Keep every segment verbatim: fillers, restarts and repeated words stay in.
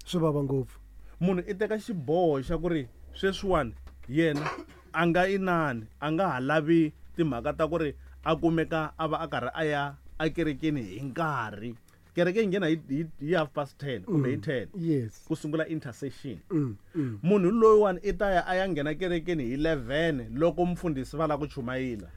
Swi vava ngopfu. Munhu i teka xiboho xa ku ri sweswiwani yena a nga inani, a nga ha lavi timhaka ta ku ri a kumeka a va a karhi a ya ekerekeni hi nkarhi. Kereke yi nghena hi, hi, hi half past ten kumbe hi ten. Yes. Ku sungula intercession. Mm, mm. Munhu loyiwani i ta ya a ya nghena kerekeni hi eleven loko mfundhisi va lava ku chumayela.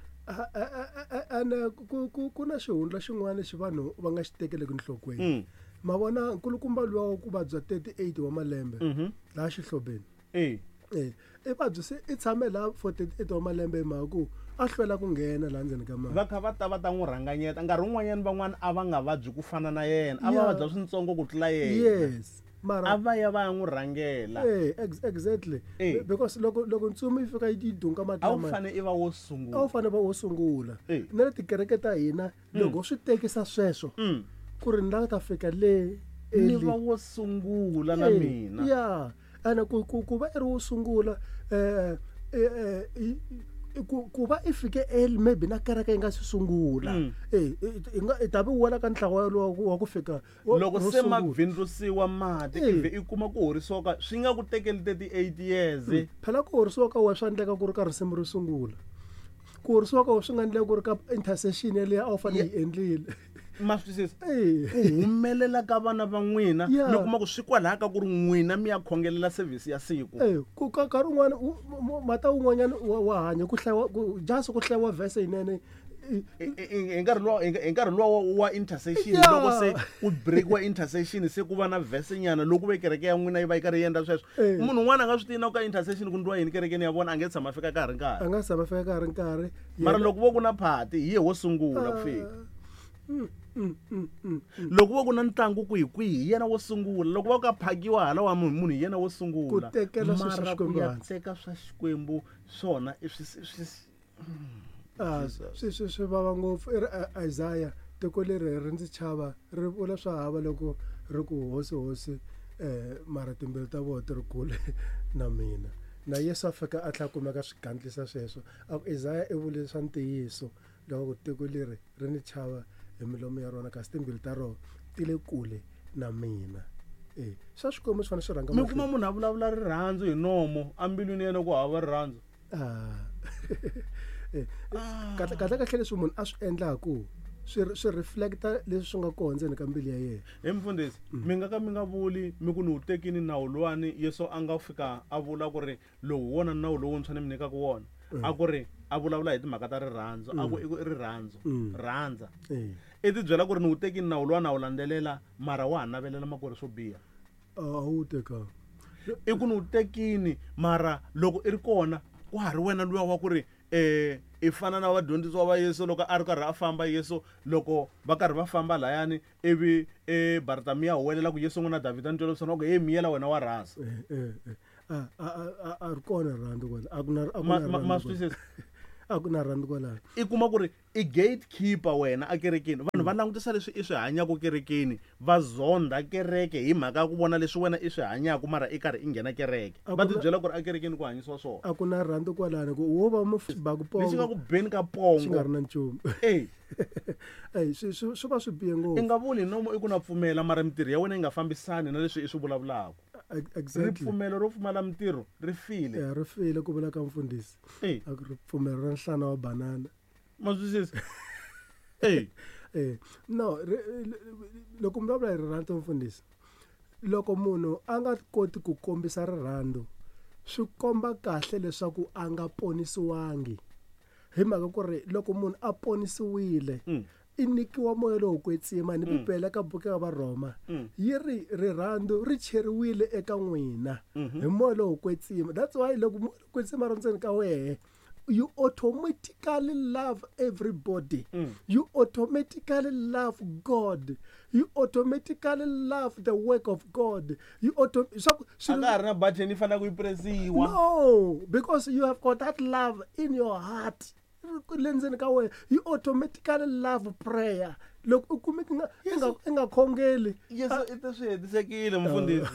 Ene ku, ku, ku na xihundla xin'wana lexi vanhu va nga xi tekeleki enhlokweni. Mm. Ma vona nkulukumba luwa wa ku vabya thirty-eight wa malembe Mhm. laha xihlobeni. Eh. Eh, i vabyi se i tshame laha for thirty-eight wa malembe hi mhaka ku a hlwela ku nghena laha ndzeni ka mali. Va kha va ta va ta n'wi rhanganyeta. Nkarhi wun'wanyana van'wana a va nga vabyi ku fana na yena, a va Yeah. vabya swintsongo ku tlula yena. Yes. Mara a va ya va ya n'wi rhangela. Eh, ex-, exactly. Eh. Be-, because loko, loko ntsumi yi fika yi dunga mati A wu lama, fane i va wo sungula. A wu fane va wo sungula. Eh. Na le tikereke ta hina, Mm. loko swi tekisa sweswo, Mm. ku ri ni la ta fika le Ni early. va wo sungula na Eh, mina. Yeah. Ene ku, ku, ku va i ri wo sungula, eh, eh, eh, i, i, ku, ku va i fike early maybe na kereke yi nga si sungula. Mm. Eh, i, i nga, i ta vi wela ka ntlawa wa ku, wa ku fika wa, Loko ro se ma sungula. bvindzusiwa mati, Eh. ivi i kuma ku horisiwa ka, swi nga ku tekeli thirty-eight years. Mm. Phela ku horisiwa ka wena swa endleka ku ri ka risimu ro sungula. Ku horisiwa ka wena swi nga endleka ku ri ka intercession yaleyo a wu fanele Yeah. yi endlile. Ma swi twisisa? Eh. Ku humelela ka vana va n'wina, Yeah. mi kuma ku swi kwalaho ka ku ri n'wina mi ya khongelela service ya siku. Eh, ku ka nkarhi wun'wana, u, mu, mu, mata wun'wanyana wa, wa hanya, ku hlayiwa, ku, just ku hlayiwa verse yinene. I, i, i, hi nkarhi luwa, hi nkarhi, hi nkarhi luwa wa, wa intercession, Yeah. loko se ku breakiwa intercession, se ku va na verse nyana loko ve kereke ya n'wina yi va yi karhi yi endla sweswo. Eh. Munhu un'wana a nga swi tivi na ku ka intercession ku ndliwa yini kerekeni ya vona, a nge tshama a fika ka ha ri nkarhi. A nga tshama a fika ka ha ri nkarhi. Mara Yena loko vo ku na party, hi ye wo sungula ku fika. Ah. Mm, mm, mm, mm, mm. Loko vo ku na ntlangu kwihi kwihi, hi yena wo sungula. Loko va ka phakiwa hala wa munhu, munhu hi yena wo sungula. Ku tekela swilo swa Mara ku Xikwembu ya hansi. teka swa Xikwembu swona i swi, swi, swi, Ah, Jesus. swi, swi, swi vava ngopfu. I ri, eh, Isaiah, tiko leri ri ndzi chava, ri vula swa hava loko ri ku hosi, hosi, eh, mara timbilu ta vona ti ri kule na mina. Na Yesu a fika a tlhela a kumeka swi gandlisa sweswo. A ku Isaiah i vule swa ntiyiso loko ku tiko leri ri ni chava hi milomo ya rona, kasi timbilu ta rona ti le kule na mina. Eh, swa Xikwembu swi fanele swi rhanga Mi kuma mahlweni. munhu a vulavula rirhandzu hi nomo, embilwini ya yena ku hava rirhandzu. Ah. Eh, Ah. kahle, kahle kahle leswi munhu a swi endlaku swi, swi reflecta leswi swi nga kona ndzeni ka mbilu ya yena. He mfundhisi, Mm. mi nga ka mi nga vuli mi ku ni wu tekini nawu luwani Yesu a nga fika a vula ku ri lowu hi wona nawu lowuntshwa ni mi nyikaka wona. Mm. A ku ri a vulavula hi timhaka ta rirhandzu, a ku Mm. i ku i rirhandzu, Mm. rhandza. Eh. I ti byela ku ri ni wu tekini nawu luwa na wu landzelela, mara wa ha navelela makwerhu swo biha. A wu tekanga. I ku ni wu tekini, mara loko i ri kona wa ha ri wena luya wa ku ri, eh, i fana na vadyondzisiwa va Yesu loko a ri karhi a famba Yesu, loko va karhi va famba layani, ivi, eh, Bartamiya huwelela ku Yesu n'wana Davhida ni twela vusiwana, ku, hey, miyela wena wa rhasa. Eh, eh, eh. A, a, a, a, a ri kona rirhandzu kwala. A ku na, a ku Ma, na ma, ma rirhandzu swi kwala. twisisa? A ku na rirhandzu kwalano. I kuma ku ri i gatekeeper wena ekerekeni. Vanhu va langutisa leswi i swi hanyaka kerekeni, va zondha kereke hi mhaka ya ku vona leswi wena i swi hanyaka, mara i karhi i nghena kereke. A Va ku na tibyela ku ri ekerekeni ku hanyisiwa swona. A ku na rirhandzu kwalano, ku wo va mu ba ku Lexi nga pongo. ku beni ka pongo. Xi nga ri na nchumu. Eh. Ey, swi, swi, swi va swi bihe ngopfu. I nga vuli nomo i ku na pfumela, mara mintirho ya wena yi nga fambisani na leswi i swi vulavulaka. Ex-, exactly. Ripfumelo ro pfumala mintirho ri file. Ya, ri file ku vula ka mfundhisi. Eh. A ku ripfumelo ra nhlana wa banana. Ma swi twisisa? Eh. Eh, no, ri, ri, loko mi vulavula hi rirhandzu mfundhisi, loko munhu a nga koti ku kombisa rirhandzu, swi komba kahle leswaku a nga ponisiwangi. Hi mhaka ku ri loko munhu a ponisiwile, Mm. i nyikiwa moya lowo kwetsima ni Mm. Bibele ka buku ya Varhoma Mm. yi ri rirhandzu ri cheriwile eka n'wina Mm-hmm. hi moya lowo kwetsima. That's why loko moya lowo kwetsima ri ndzeni ka wehe, you automatically love everybody. Mm. You automatically love God. You automatically love the work of God. You auto-, swa ku, A ka ha ri na button yi faneleke yi presiwa. No, because you have got that love in your heart. Le ndzeni ka wena, you automatically love prayer. Loko u kume ku nga, i nga, i nga khongeli. Yesu i te swi hetisekile, mfundhisi.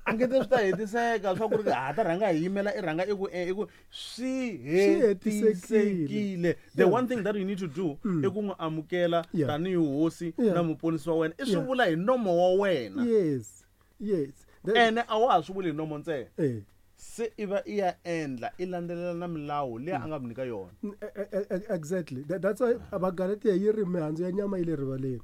A nge te swi ta hetiseka swa ku ri ha ta rhanga hi yimela i rhanga i ku, eh, i ku swi Swi hetisekile. hetisekile. The Yeah. one thing that you need to do Mm. i ku n'wi amukela Yeah. tanihi hosi Yeah. na muponisi wa wena. I swi Yeah. vula hi nomo wa wena. Yes. Yes. Ene a wa ha swi vuli hi nomo ntsena. Eh. Se i va i ya endla i landzelela na milawu leyi a nga ku nyika yona. Exactly. That's why Vagalatiya yi ri mihandzu ya nyama yi le rivaleni.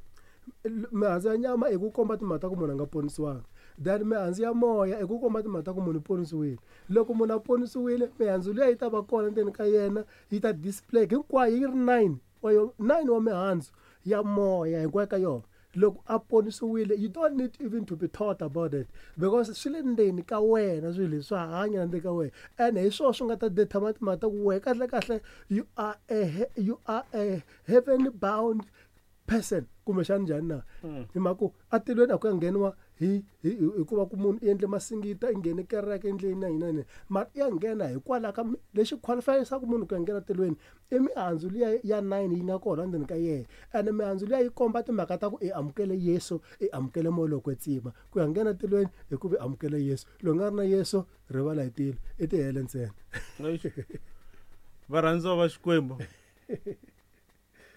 Mihandzu ya nyama i ku komba timhaka ta ku munhu a nga ponisiwanga. Then mihandzu ya moya i ku komba timhaka ta ku munhu u ponisiwile. Loko munhu a ponisiwile, mihandzu liya yi ta va kona ndzeni ka yena, yi ta display hinkwayo yi ri nine wa yo nine wa mihandzu ya moya hinkwayo ka yona. Loko a ponisiwile, you don't need even to be taught about it because swi le ndzeni ka wena, swilo leswi swa hanya ndzeni ka wena. And hi swona swi nga ta determine timhaka ta ku wena kahle kahle you are a you are a heaven bound person kumbexana njhani na. Hi mhaka ku atilweni a ku ya ngheniwa hi hi hikuva ku munhu i endle masingita, i nghene kereke, i endle yini na yini na yini, mara i ya nghena hikwalaho ka lexi qualify-isaka munhu ku ya nghena tilweni i mihandzu liya ya nine yi nga kona ndzeni ka yena. And mihandzu liya yi komba timhaka ta ku i amukele Yesu, i amukele moya lowo kwetsima. Ku ya nghena tilweni hikuva i amukele Yesu. Loko nga ri na Yesu, rivala hi tilo, i tihele ntsena. Varhandziwa va Xikwembu,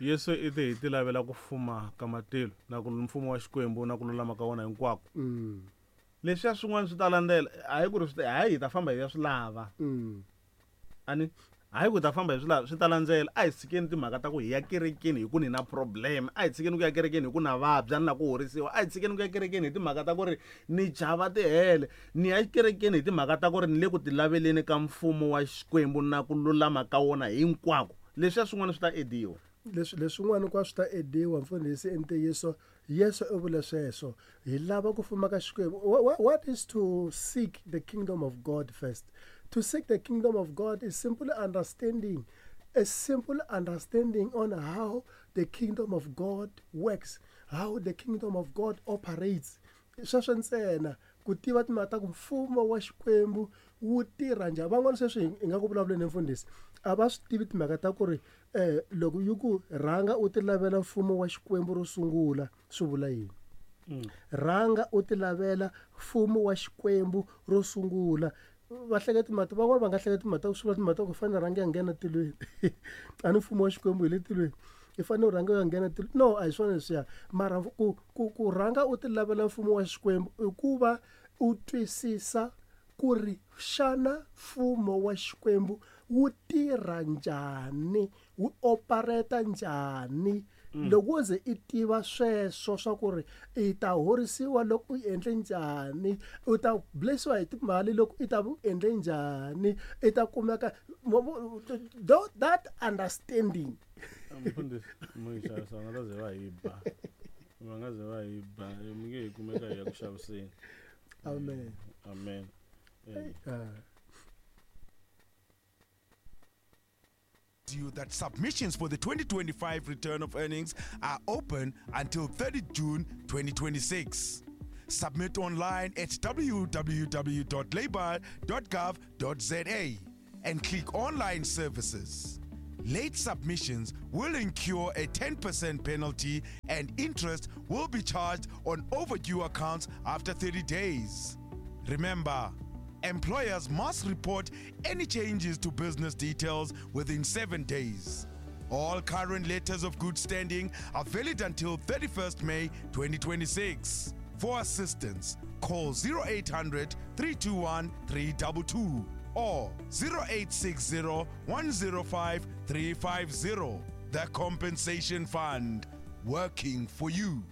Yesu i te hi ti lavela ku fuma ka matilo na ku mfumo wa Xikwembu na ku lulama ka wona hinkwako. Leswiya swin'wana swi ta landzela, a hi ku ri swi ta, hayi hi ta famba hi ya swi lava. Ani hayi ku ta famba hi swi lava, swi ta landzela. A hi tshikeni timhaka ta ku hi ya kerekeni hi ku ni na problem, a hi tshikeni ku ya kerekeni hi ku na vabya ni la ku horisiwa, a hi tshikeni ku ya kerekeni hi timhaka ta ku ri ni chava tihele, ni ya kerekeni hi timhaka ta ku ri ni le ku ti laveleni ka mfumo wa Xikwembu na ku lulama ka wona hinkwako. Leswiya swin'wana swi ta ediwa. Leswi leswin'wana hinkwaswo swi ta ediwa, mfundhisi, i ntiyiso. Yesu u vule sweswo. Hi lava ku fuma ka Xikwembu. What is to seek the kingdom of God first? To seek the kingdom of God is simple understanding, a simple understanding on how the kingdom of God works, how the kingdom of God operates. Sweswo ntsena ku tiva timhaka ta ku mfumo wa Xikwembu wu tirha njhani. Van'wana sweswi hi nga ku vulavuleni mfundhisi, a va swi tivi timhaka ta ku ri eh loko yi ku rhanga u ti lavela mfumo wa Xikwembu ro sungula swi vula yini. Rhanga u ti lavela mfumo wa Xikwembu ro sungula. Va hleketa timhaka, van'wana va nga hleketa timhaka ta ku swi vula timhaka ta ku fanele rhanga ya nghena tilweni. A ni mfumo wa Xikwembu hi le tilweni, i fanele u rhanga u ya nghena tilweni. No, a hi swona leswiya. Mara ku ku ku rhanga u ti lavela mfumo wa Xikwembu i ku va u twisisa ku ri xana mfumo wa Xikwembu wu tirha njhani, wu operate njhani. Loko wo ze i tiva sweswo swa ku ri i ta horisiwa loko u endle njhani, u ta blessiwa hi timali loko i ta u endle njhani, i ta kumeka that understanding. Mfundhisi, mo yi xavisa, va nga ta ze va hi ba. Va nga ze va hi ba, mi nge hi kumeka hi ya ku xaviseni. Amen. Amen. You that submissions for the twenty twenty-five return of earnings are open until thirtieth June twenty twenty-six. Submit online at w w w dot labour dot gov dot z a and click online services. Late submissions will incur a ten percent penalty and interest will be charged on overdue accounts after thirty days. Remember, employers must report any changes to business details within seven days. All current letters of good standing are valid until thirty-first May twenty twenty-six. For assistance, call zero eight hundred, three two one, three two two or zero eight six zero, one zero five, three five zero. The Compensation Fund, working for you.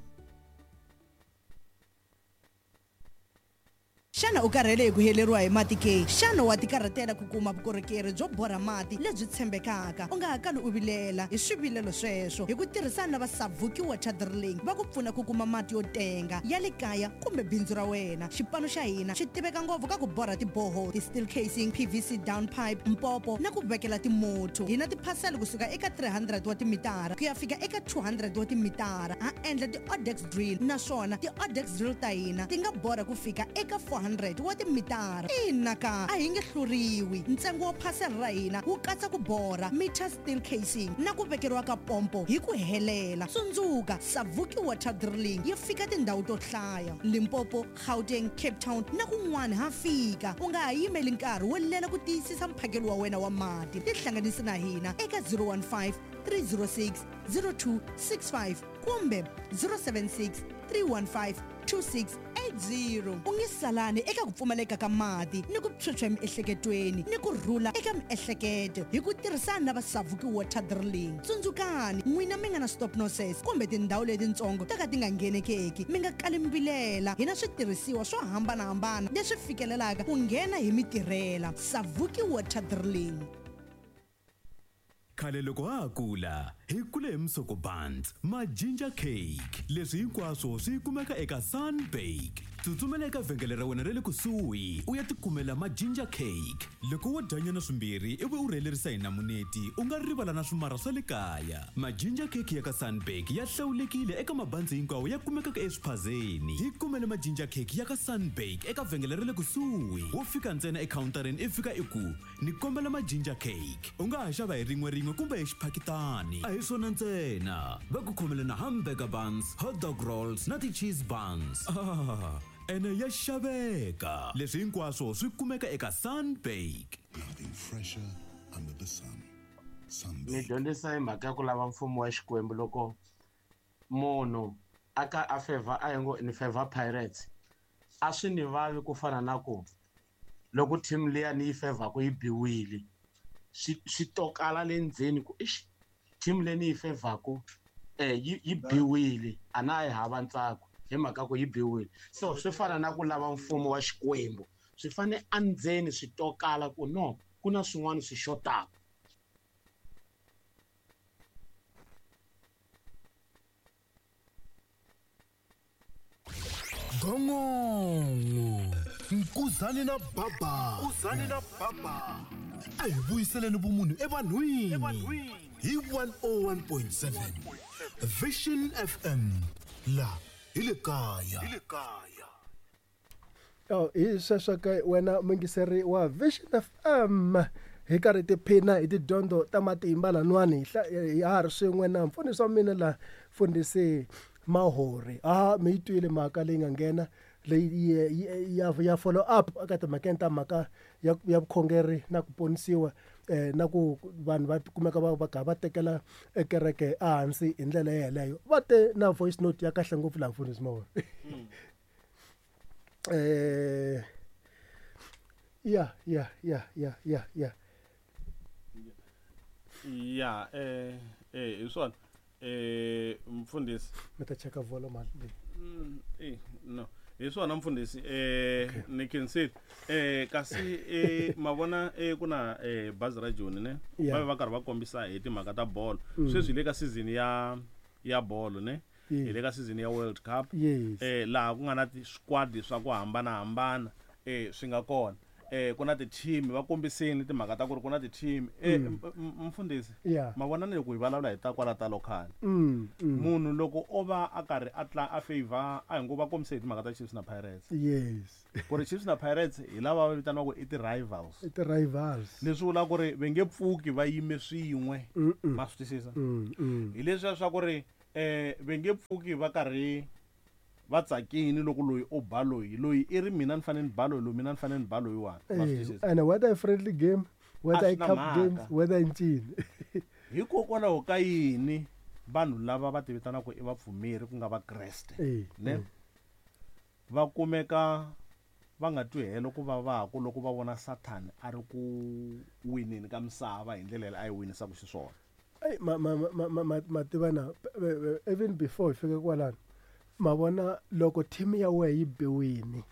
Xana u karhele hi ku heleriwa hi mati ke? Xana wa tikarhatela ku kuma vukorhokeri byo borha mati lebyi tshembekaka? U nga ha kali u vilela hi swivilelo sweswo hi ku tirhisana na va Savuki Water Drilling va ku pfuna ku kuma mati yo tenga ya le kaya kumbe bindzu ra wena. Xipano xa hina xi tiveka ngopfu ka ku borha tiboho, ti-steel casing, P V C down pipe, mpopo na ku vekela timotho. Hi na tiphasela kusuka eka three hundred wa timitara ku ya fika eka two hundred wa timitara. Ha endla ti-odex drill naswona ti-odex drill ta hina ti nga borha ku fika eka four hundred wa timitara. Ina ka a hi nge hluriwi. Ntsengo wa phasela ra hina wu katsa ku borha meter steel casing na ku vekeriwa ka pompo hi ku helela. Tsundzuka, Savuki Water Drilling yi fika tindhawu to hlaya: Limpopo, Gauteng, Cape Town na kun'wana ha fika. U nga ha yimeli nkarhi wo lela ku tiyisisa mphakelo wa wena wa mati. Tihlanganisi na hina eka zero one five, three zero six, zero two six five kumbe zero seven six, three one five, two six eight zero. U nge salani eka ku pfumaleka ka mati ni ku phyuphya emiehleketweni ni ku rhula eka miehleketo hi ku tirhisana na va Savuki Water Drilling. Tsundzukani n'wina mi nga na stop nonsense kumbe tindhawu letitsongo ta ka ti nga nghenekeki, mi nga kali mi vilela. Hi na switirhisiwa swo hambanahambana leswi fikelelaka ku nghena hi mitirhela. Savuki Water Drilling. Khale loko ha ha kula hi kule hi musoko buns ma ginger cake, leswi hinkwaswo swi kumeka eka Sunbake. Tsutsumela eka vhengele ra wena ra le kusuhi u ya tikumela ma ginger cake. Loko wo dyanyana swimbirhi ivi u rhelerisa hi namuneti, u nga rivala na swimara swa le kaya. Ma ginger cake ya ka Sunbake ya hlawulekile eka mabanzi hinkwawo ya kumekaka eswiphazeni. Hi kumele ma ginger cake ya ka Sunbake eka vhengele ra le kusuhi. Wo fika ntsena ekhawuntarini i fika i ku ni kombela ma ginger cake. U nga ha xava hi rin'we rin'we kumbe hi xiphakitani. A hi swona ntsena, va ku khomele na hamburger buns, hot dog rolls na ti-cheese buns. Ah, ene ya xaveka. Leswi hinkwaswo swi kumeka eka Sunbake. Nothing fresher under the sun. Sunbake. Ni dyondzisa hi mhaka ya ku lava mfumo wa Xikwembu. Loko munhu a ka a favor, a ngo ni favor Pirates, a swi ni vavi ku fana na ku loko team liya ni yi favor ku yi biwile, swi swi tokala le ndzeni ku ixi team leyi ni yi favor-ku eh yi yi biwile, a na yi hava ntsako hi mhaka ku yi biwile. So swi fana na ku lava mfumo wa Xikwembu, swi fane endzeni swi tokala ku no ku na swin'wana swi xotaka. Gongongo Nkuzani na Baba, Nkuzani na Baba, a hi vuyiseleni vumunhu evanhwini hi one oh one point seven Vision F M la hi le kaya. Oh, hi sweswo ke wena muyingiseri wa Vision F M, hi karhi tiphina hi tidyondzo ta matimba lanwani hi ha ri swin'we na mfundhisi wa mina la mfundhisi Mahori. Ah, mi yi twile mhaka leyi nga nghena leyi ya ya follow up eka timhakeni ta mhaka ya ya vukhongeri na ku ponisiwa eh na ku vanhu va kumeka va va va tekela ekereke ehansi hi ndlela yeleyo. Va te na voice note ya kahle ngopfu la mfundhisi Mahori. Eh ya ya ya ya ya ya ya eh eh hi swona eh mfundhisi mi ta cheka volume leyi. Mm, eh no hi swona mfundhisi eh ni khensile eh kasi eh mavona eh kuna eh bazi ra Joni ne va va karhi va kombisa hi timhaka ta bolo. Sweswi hi le ka season ya ya bolo ne, hi le ka season ya World Cup eh laha ku nga na ti-squad swa ku hambanahambana eh swi nga kona. Eh ku na ti-team, va kombiseni timhaka ta ku ri ku na ti-team. Eh mfundhisi mavona ni loko hi vulavula hi ta kwala ta local, munhu loko o va a karhi a tla a favor, a hi ngo va kombise hi timhaka ta Chiefs na Pirates. Yes, ku ri Chiefs na Pirates hi lava va vitaniwaka i ti-rivals. I ti-rivals leswi vulaka ku ri va nge pfuki va yime swin'we. Ma swi twisisa? Hi leswiya swa ku ri eh va nge pfuki va karhi va tsakini loko loyi o ba loyi, loyi i ri mina ni fanele ni ba loyi, loyi mina ni fanele ni ba loyiwani. Ma swi twisisa? And whether friendly game, whether cup games, whether ncini. Hikokwalaho ka yini vanhu lava va ti vitanaka i vapfumeri ku nga vakreste ne va kumeka va nga twi helo ku va vaku loko va vona Sathani a ri ku wineni ka misava hi ndlela leyi a yi winisaka xiswona? Ey ma ma ma ma ma tiva na even before hi fika kwalano, ma vona loko team ya wena yi biwini,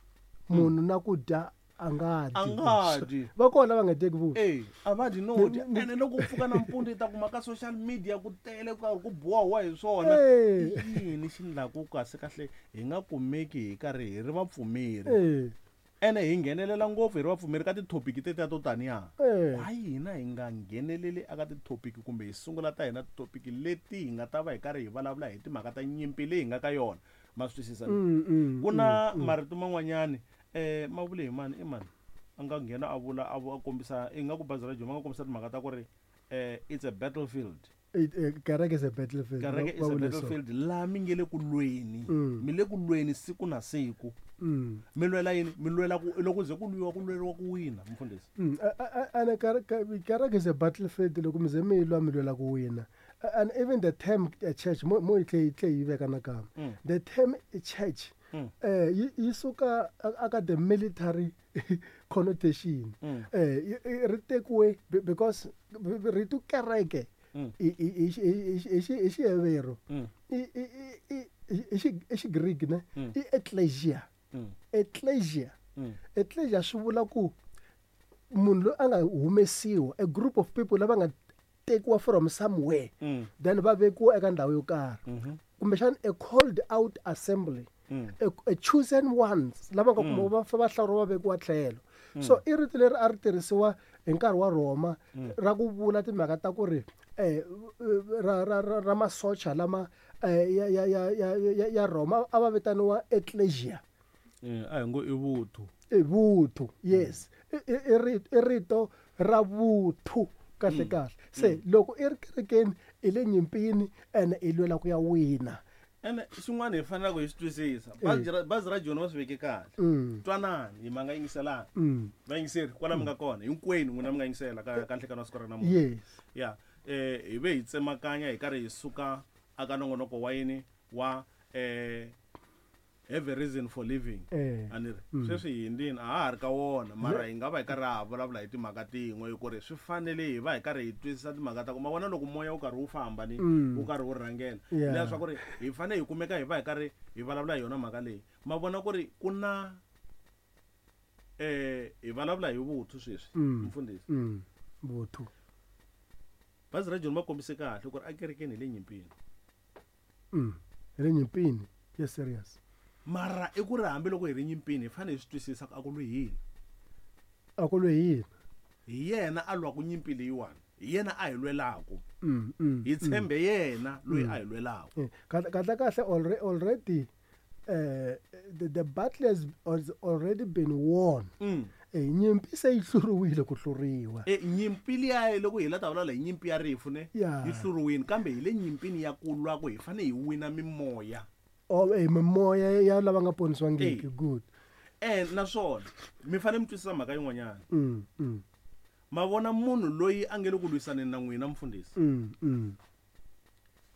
munhu na ku dya a nga dyi. A nga dyi. Va kona va nga dyeki vuswa. Eh, a va dyi no dya. Ene loko u pfuka nampundzu i ta kuma ka social media ku tele ku karhi ku bohiwa hi swona. I yini xi endlaku kasi kahle hi nga kumeki hi karhi hi ri vapfumeri? Ene hi nghenelela ngopfu hi ri vapfumeri ka ti-topic tetiya to taniya. Why hina hi nga ngheneleli eka ti-topic kumbe hi sungula ta hina ti-topic leti hi nga ta va hi karhi hi vulavula hi timhaka ta nyimpi leyi hi nga ka yona? Ma swi twisisa? Ku na marito man'wanyani eh ma vule hi mani i mani a nga nghena a vula a kombisa ingaku bazi ra Joni va nga kombisa timhaka ta ku ri eh it's a battlefield. Kereke is a battlefield. Kereke is a battlefield laha mi nge le ku lweni, mi le ku lweni siku na siku. Mi lwela yini? Mi lwela ku loko ze ku lwiwa ku lweriwa ku wina mfundhisi. And kereke is a battlefield loko mi ze mi lwa mi lwela ku wina. And even the term church mo mo yi tlhe yi veka nakambe. The term church Eh yi yi suka aka the military connotation. Eh ri tekiwe because rito kereke i i i i Xihebheru i i i i Xigriki ne i ecclesia. Ecclesia. Ecclesia swi vula ku munhu loyi a nga humesiwa, a group of people lava nga tekiwa from somewhere mm. then va vekiwa eka ndhawu yo karhi, kumbexana a called out assembly, mm. a, a chosen ones lava nga kuma va va hlawuriwa va vekiwa tlhelo. Mm. So i rito leri a ri tirhisiwa hi nkarhi wa Roma mm. ra ku vula timhaka ta ku ri eh ra ra ra masocha lama ya ya ya ya ya Roma a va vitaniwa ecclesia. Eh a hi ngo i vuthu. I vuthu, yes. I rito ra vuthu kahle kahle. Se loko i ri kerekeni i le nyimpini ene i lwela ku ya wina. Ene xin'wana hi fanelaka hi swi twisisa, bazi ra Joni va swi veke kahle. Twanani hi manga yingiselana. Va yingiseri kwala mi nga kona hinkwenu n'wina mi nga yingisela ka ka nhlekano wa siku ra namuntlha. Yes. Ya eh hi ve hi tsemakanya hi karhi hi suka aka nongonoko wa yini wa eh have a reason for living. Aniri sweswi hi ndini a ha ri ka wona mara hi nga va hi karhi ha vulavula hi timhaka tin'we hi ku ri swi fanele hi va hi karhi hi twisisa timhaka ta ku ma vona loko moya wu karhi wu famba ni wu karhi wu rhangela leswaku ri hi fanele hi kumeka hi va hi karhi hi vulavula hi yona mhaka leyi. Ma vona ku ri ku na eh hi vulavula hi vuthu sweswi mfundhisi. Vuthu bazi ra Joni va kombise kahle ku ri a kerekeni hi le nyimpini. Hi le nyimpini, yes, serious. Mara i ku ri hambi loko hi ri nyimpini hi fanele hi swi twisisa ku a ku lwi hina. A ku lwi hina. Hi yena a lwaku nyimpi leyiwani, hi yena a hi lwelaku. Hi tshembe yena loyi a hi lwelaku. Kahle kahle already uh, the, the battle has already been won. Eh nyimpi se yi hluriwile ku hluriwa. Eh nyimpi liya loko hi la ta vulavula hi nyimpi ya rifu ne yi hluriwile, kambe hi le nyimpini ya ku lwa ku hi fanele hi wina mimoya. Oh, eh mimoya ya lava nga ponisiwangiki. Good. Eh naswona mi fanele mi twisisa mhaka yin'wanyana. Mm, mm. Ma vona munhu loyi a nge le ku lwisaneni na n'wina mfundhisi. Mm, mm.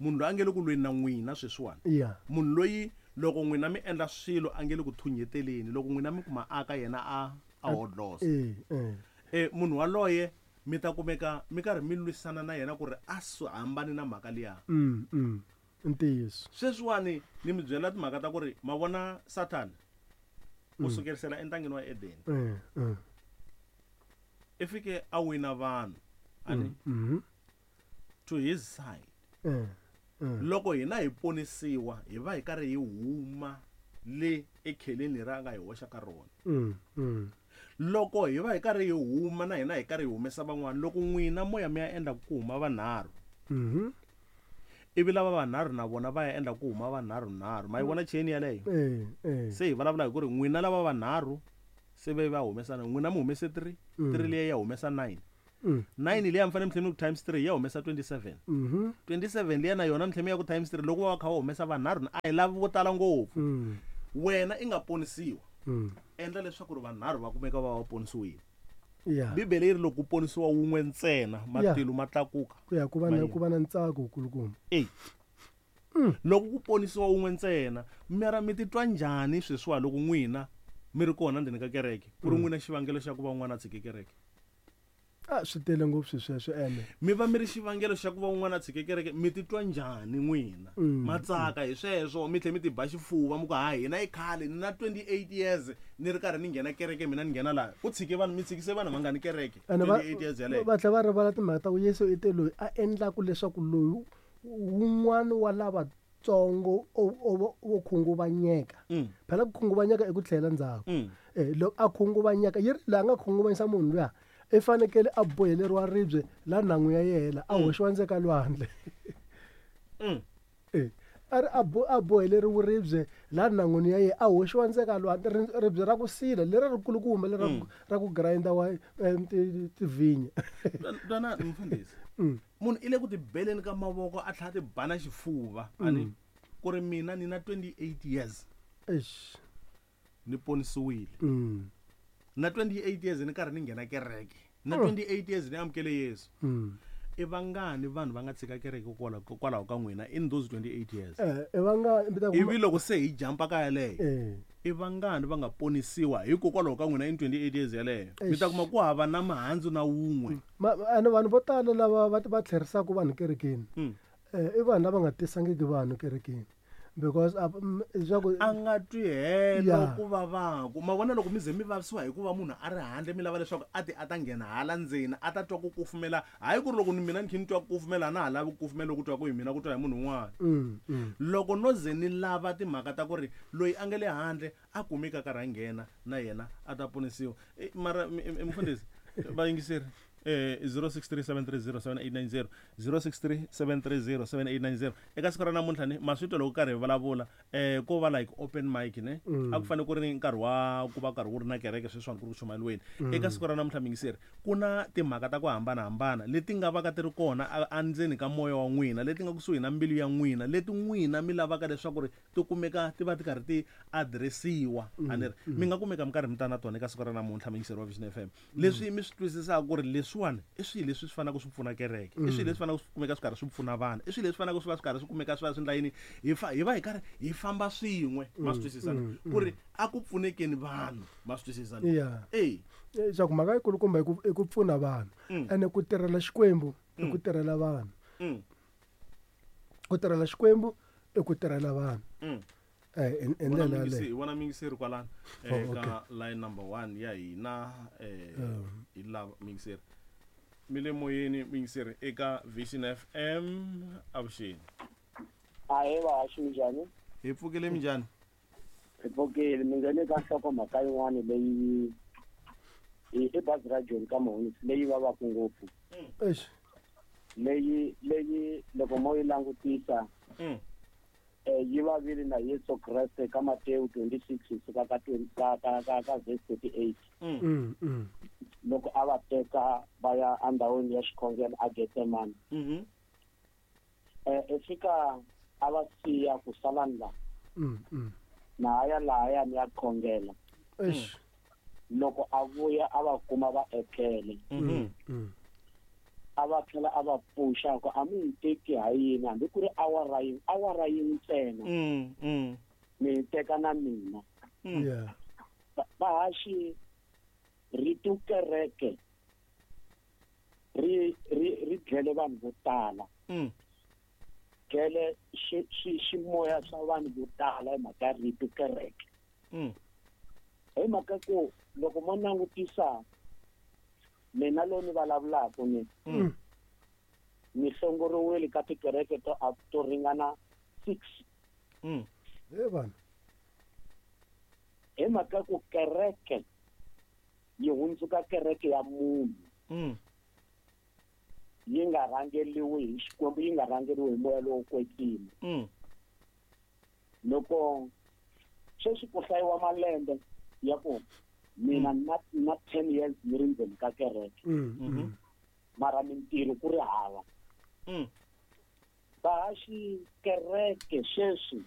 Munhu loyi a nge le ku lweni na n'wina sweswiwani. Yeah. Munhu loyi loko n'wina mi endla swilo a nge le ku thunyeteleni, loko n'wina mi kuma aka yena a a hodlosa. Eh, eh. Eh munhu waloye mi ta kumeka mi karhi mi lwisana na yena ku ri a swi hambani na mhaka liya. Mm, mm. Ntiyiso. Sweswiwani ni mi byela timhaka ta ku ri ma vona Satan u sukerisela entangeni wa Eden. Mm, mm. I fike a wina vanhu ani mm. to his side. Mm, mm. Loko hina hi ponisiwa hi va hi karhi hi huma le ekheleni ra nga hi hoxa ka rona. Mm, mm. Loko hi va hi karhi hi huma na hina hi karhi hi humesa van'wana, loko n'wina moya mi ya endla ku huma vanharhu. Mhm. Ivi lava vanharhu na vona va ya endla ku huma vanharhu nharhu. Ma yi vona chain yaleyo? Eh, eh. Se hi vulavula hi ku ri n'wina lava vanharhu se ve va humesana, n'wina mi humese three, three liya ya humesa nine. nine liya mi fanele mi tlhela mi ku times three ya humesa twenty-seven. Mhm. twenty-seven liya na yona mi tlhela mi ya ku times three loko va kha va humesa vanharhu a hi lavi vo tala ngopfu. Wena i nga ponisiwa. Endla leswaku ri vanharhu va kumeka va va ponisiwile. Yeah. Bibele yi ri loko ku ponisiwa wun'we ntsena matilo ma tlakuka. Ku ya ku va na ku va na ntsako wukulukumba. Eh. Loko ku ponisiwa wun'we ntsena, mara mi titwa njhani sweswiwa loko n'wina mi ri kona ndzeni ka kereke, ku ri n'wina xivangelo xa ku va un'wana a tshike kereke? A swi tele ngopfu sweswo ene. Mi va mi ri xivangelo xa ku va un'wana a tshike kereke, mi titwa njhani n'wina? Ma tsaka hi sweswo, mi tlhela mi tiba xifuva mi ku ha hina i khale ni na twenty-eight years ni ri karhi ni nghena kereke, mina ni nghena laha. Ku tshike vanhu, mi tshikise vanhu vangani kereke? twenty-eight years yaleyo. Va tlhela va rivala timhaka ta ku Yesu i te loyi a endlaku leswaku loyi wun'wana wa lavatsongo wo khunguvanyeka. Phela ku khunguvanyeka i ku tlhela ndzhaku. Eh loko a khunguvanyeka yi ri laha nga khunguvanyisa munhu luya i fanekele a boheleriwa ribye la nhangu ya yena a hoxiwa ndzeni ka lwandle. Eh a ri a bo a boheleriwe ribye la nhan'wini ya yena a hoxiwa ndzeni ka lwandle, ribye ra ku sila leri ri kulukumba leri ra ku grinder wa tivhinya. Twana mfundhisi, munhu i le ku tibeleni ka mavoko a tlhela ti bana xifuva ani ku ri mina ni na twenty-eight years. Eish. Ni ponisiwile. Na twenty-eight years ni karhi ni nghena kereke. Na twenty-eight years ni amukele Yesu. i vangani vanhu va nga tshika kereke kwalaho ka n'wina in those twenty-eight years? Eh, i vangani ivi loko se hi jampa ka yaleyo, eh i vangani va nga ponisiwa hikokwalaho ka n'wina in twenty-eight years yaleyo? Mi ta kuma ku hava na mihandzu na wun'we. Ene vanhu vo tala lava va va tlherisaka vanhu kerekeni, Mm. eh i vanhu lava nga tisangiki vanhu kerekeni, because a leswaku a nga twi helo Yeah. ku vavaku. Ma vona loko mi ze mi vavisiwa hikuva munhu a ri handle, mi lava leswaku a ti a ta nghena hala ndzeni a ta twa ku kufumela. Hayi ku ri loko ni mina ni kha ni twa ku kufumela, a na ha lavi ku kufumela ku twa ku hi mina ku twa hi munhu un'wana. Mm, mm. Loko no ze ni lava timhaka ta ku ri loyi a nga le handle a kumeka a karhi a nghena na yena a ta ponisiwa. Eh, mara mi- mi- mufundhisi, vayingiseri, eh zero six three seven three zero seven eight nine zero, zero six three seven three zero seven eight nine zero. Eka siku ra namuntlha ni ma swi twa loko karhi hi vulavula, eh ko va like open mic ne, Mm. a ku fanele ku ri ni nkarhi wa ku va karhi wu ri na kereke sweswiwani ku ri ku chumayeriweni. Eka siku ra namuntlha mingiseri, ku na timhaka ta ku hambanahambana leti nga va ka ti ri kona a- endzeni ka moya wa n'wina, leti nga kusuhi na mbilu ya n'wina, leti n'wina mi lavaka leswaku ri ti kumeka ti va ti karhi ti adiresiwa. A ni ri mi nga kumeka mi karhi mi ta na tona eka siku ra namuntlha mingiseri wa Vision F M. Leswi mi swi twisisaka ku ri leswiwani i swilo leswi swi faneleke swi pfuna kereke, i swilo leswi faneleke swi kumeka swi karhi swi pfuna vanhu, i swilo leswi faneleke swi va swi karhi swi kumeka swi va swi endla yini, hi fa hi va hi karhi hi famba swin'we. Ma swi twisisa ni? Ku ri a ku pfunekeni vanhu, ma swi twisisa ni? Yeah. Eh. Leswaku mhaka yikulukumba i ku i ku pfuna vanhu, ene ku tirhela Xikwembu i ku tirhela vanhu. Mm. Ku tirhela Xikwembu i ku tirhela vanhu. Mm. Eh, hi hi Vona ndlela miyingisi- yaleyo. hi vona miyingiseri kwalano Oh, eka okay. line number one ya hina, eh Um. hi lava miyingiseri mi le moyeni, miyingiseri eka Vision F M. Avuxeni. Ahee vahaxi, minjhani? Hi pfukile, minjhani? Hi pfukile. Mi nghene ka nhlokomhaka yin'wani leyi i i bazi ra Joni ka Mahunisi leyi vavaka ngopfu, Eish. leyi leyi loko mo yi langutisa, Mm. eh, yi vavile na Yesu Kreste ka Matewu twenty-six kusuka ka twenty ka ka ka ka verse thirty-eight. Mm, mm. Loko a va teka va ya endhawini ya xikhongelo a Getsemane, Mhm. eh i fika a va siya ku sala la Mm, mm. na ya lahaya ni ya khongela. Eish. Loko a vuya a va kuma va etlele, Mhm. Mm. a va tlhela a va pfuxa ku a mi yi teki ha yini hambi ku ri awara yin'we, awara yin'we ntsena, Mm, mm. mi yi teka na mina. Yeah. Va- vahaxi, rito kereke ri ri ri dlele vanhu vo tala, Mm. dlele xi xi ximoya swa vanhu vo tala hi mhaka ya rito kereke. Mm. Hi mhaka ku loko mo langutisa mina loyi ni vulavulaka ni, Mm. ni hlongoriwile ka tikereke to to ringana six. Mm. He vanhu. Hi mhaka ku kereke yi hundzuka kereke ya munhu, Mm. yi nga rhangeriwi hi Xikwembu, yi nga rhangeriwi hi moya lowo kwetsima. Mm. Loko sweswi ku hlayiwa malembe ya ku mina na na ten years ni ri ndzeni ka kereke, Mm, mm. mara mintirho ku ri hava. Mm. Vahaxi, kereke sweswi